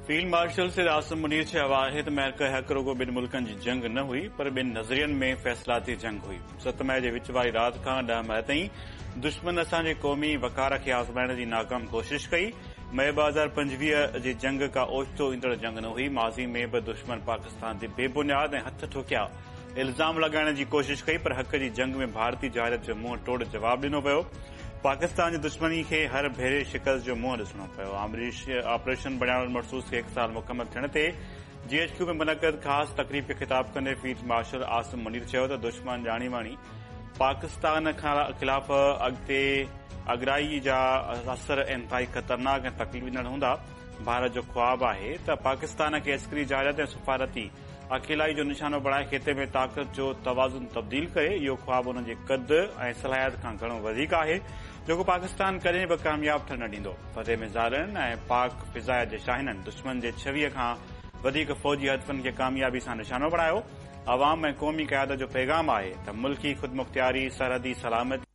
Field marshal Syed Asim Munir چيو آهي ته معرڪه حق رڳو ٻن ملڪن جي جنگ نه هئي پر ٻن نظرين ۾ فيصلاتي جنگ هئي. 7 مئي جي وچ واري رات کان 10 مئي تائين دشمن اسان جي قومي وقار کي آزمائڻ جي ناڪام ڪوشش ڪئي. مئي 2025 جي جنگ ڪا اوچتو ايندڙ جنگ نه هئي، ماضي ۾ به دشمن پاڪستان تي بي بنياد ۽ هٿ ٺوڪيا الزام لڳائڻ جي ڪوشش ڪئي پر حق جي جنگ ۾ ڀارتي جارحيت جو منهن ٽوڙ جواب ڏنو ويو. پاڪستان جي دشمني کي هر ڀيري شڪست جو منهن ڏسڻو پيو. آپريشن بنيان المرصوص کي هڪ سال مڪمل ٿيڻ تي جي ايڇ ڪيو ۾ منعقد خاص تقريب کي خطاب ڪندي فيلڊ مارشل عاصم منير چيو ته دشمن ڄاڻي واڻي پاڪستان خلاف اڳتي اڳرائي جا اثر انتهائي خطرناڪ ۽ تڪليف ڏيندڙ هوندا، ڀارت جو خواب آهي ته پاڪستان کي عسڪري جارحيت ۽ سفارتي اڪيلائي جو نشانو بڻائي خطي ۾ طاقت جو توازن تبديل ڪري، اهو خواب انهن جي قد ۽ صلاحيت کان گهڻو وڌيڪ آهي، جيڪو پاڪستان ڪڏهن به ڪامياب ٿيڻ نه ڏيندو. فتح ميزائلن ۽ پاڪ فضائيه جي شاهينن دشمن جي 26 کان وڌيڪ فوجي هدفن کي ڪاميابي سان نشانو بڻايو، عوام ۽ قومي قيادت جو پيغام آهي ته ملڪي خودمختياري، سرحدي سلامتي.